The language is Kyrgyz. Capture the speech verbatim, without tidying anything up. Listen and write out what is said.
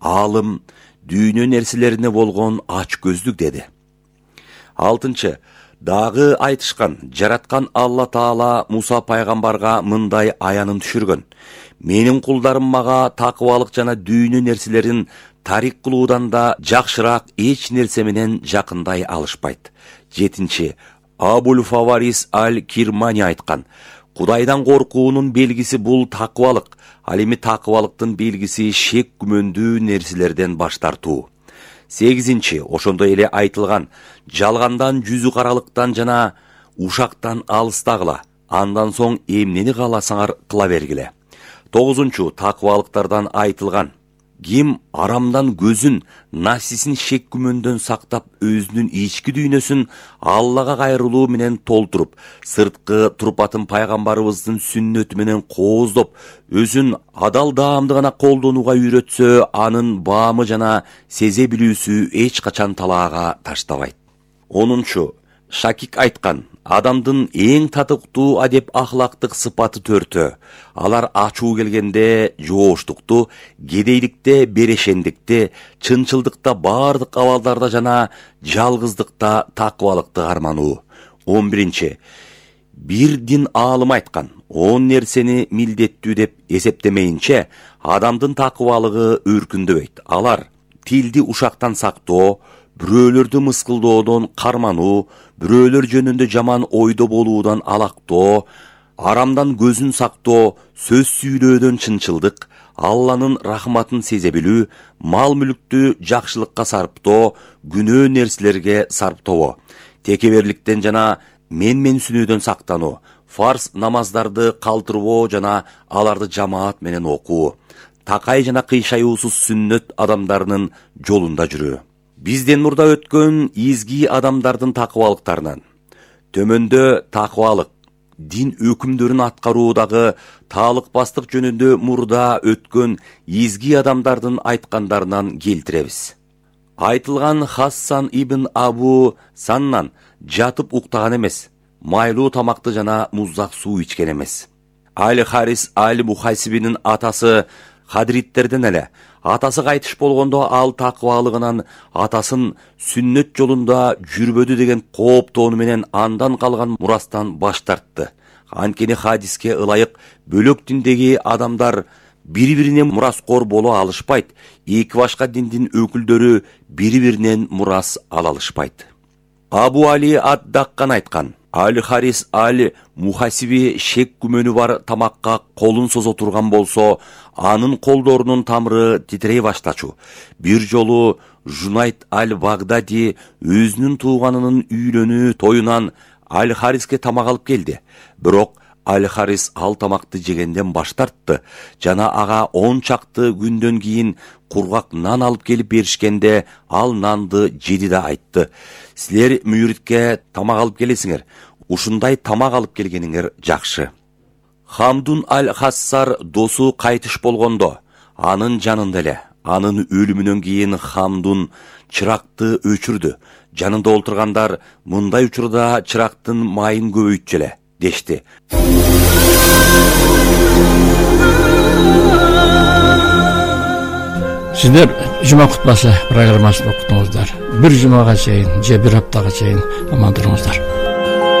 аалым дүйнө нерселерине болгон ач көздүк деди. Алтынчы, дагы айтышкан, жараткан Алла Таала Муса пайгамбарга мындай аянын түшүргөн: менин кулдарым мага такыбалык жана дүйнө нерселерин тарик кылуудан да жакшыраак эч нерсе менен жакындай алышпайт. Жетинчи, Абул Фаварис аль-Кирмани айткан: Кудайдан коркуунун белгиси бул такыбалык, ал эми такыбалыктын белгиси шек күмөндүү нерселерден баш тартуу. Сегизинчи, ошондой эле айтылган: жалгандан, жүзү каралыктан жана ушактан алыстагыла, андан соң эмнени кааласаңар кыла бергиле. Тогузунчу, такыбалыктардан айтылган: ким арамдан көзүн, нафсисин шек күмөндөн сактап, өзүнүн ички дүйнөсүн Аллага кайрылуу менен толтуруп, сырткы турпатын пайгамбарыбыздын сүннөтү менен кооздоп, өзүн адал даамды гана колдонууга үйрөтсө, анын баамы жана сезе билүүсү эч качан талаага таштабайт. Онунчу, Шакик айткан: адамдын эң татыктуу адеп ахлактык сыпаты төртөө. Алар ачуу келгенде жооштукту, кедейликте берешендикти, чынчылдыкта бардык абалдарда жана жалгыздыкта такыбалыкты армануу. он биринчи, бир дин аалым айткан: он нерсени милдеттүү деп эсептемейинче адамдын такыбалыгы өркүндөбөйт. Алар тилди ушактан сактоо, бирөөлөрдү мыскылдоодон кармануу, бирөөлөр жөнүндө жаман ойдо болуудан алактоо, арамдан көзүн сактоо, сөз сүйлөөдөн чынчылдык, Алланын рахматын сезе билүү, мал мүлүктү жакшылыкка сарптоо, күнөө нерселерге сарптоо, текеберликтен жана менменсинүүдөн сактануу, фарз намаздарды калтырбоо жана аларды жамаат менен окуу, такай жана кыйшаюусуз сүннөт адамдарынын жолунда жүрүү. Бизден мурда өткөн изги адамдардын такыбалыктарынан төмөндө такыбалык, дин өкүмдөрүн аткаруудагы таалыкпастык жөнүндө мурда өткөн изги адамдардын айткандарынан келтиребиз. Айтылган Хассан ибн Абу Саннан жатып уктаган эмес, майлуу тамакты жана муздак суу ичкен эмес. Аль-Харис аль-Мухасибинин атасы Хадриттерден эле. Атасы кайтыш болгондо ал такыбалыгынан атасын сүннөт жолунда жүрбөдү деген кооптоону менен андан калган мурастан баш тартты. Анткени хадиске ылайык бөлөк диндеги адамдар бири-бирине мураскор боло алышпайт, эки башка диндин өкүлдөрү бири-биринен мурас ала алышпайт. Абу Али ад-Даккан айткан: Аль-Харис аль-Мухасиби шек күмөнү бар тамакка колун созо турган болсо, анын колдорунун тамыры титирей баштачу. Бир жолу Жунайт аль-Багдади өзүнүн тууганынын үйлөнүү тоюнан Аль-Хариске тамак алып келди. Бирок Аль-Харис ал тамакты жегенден баш тартты жана ага он чакты күндөн кийин кургак нан алып келип беришкенде ал нанды жеди да айтты: силер мүйритке тамак алып келесиңер, ушундай тамак алып келгениңер жакшы. Хамдун аль-Хассар досу кайтыш болгондо, анын жанында эле, анын өлүмүнөн кийин Хамдун чыракты өчүрдү. Жанында олтургандар: мындай учурда чырактын майын көбөйтчү эле дешти. Сиздер жума кутбасы программасын уктуңуздар. Бир жумага чейин же бир аптага чейин аман туруңуздар.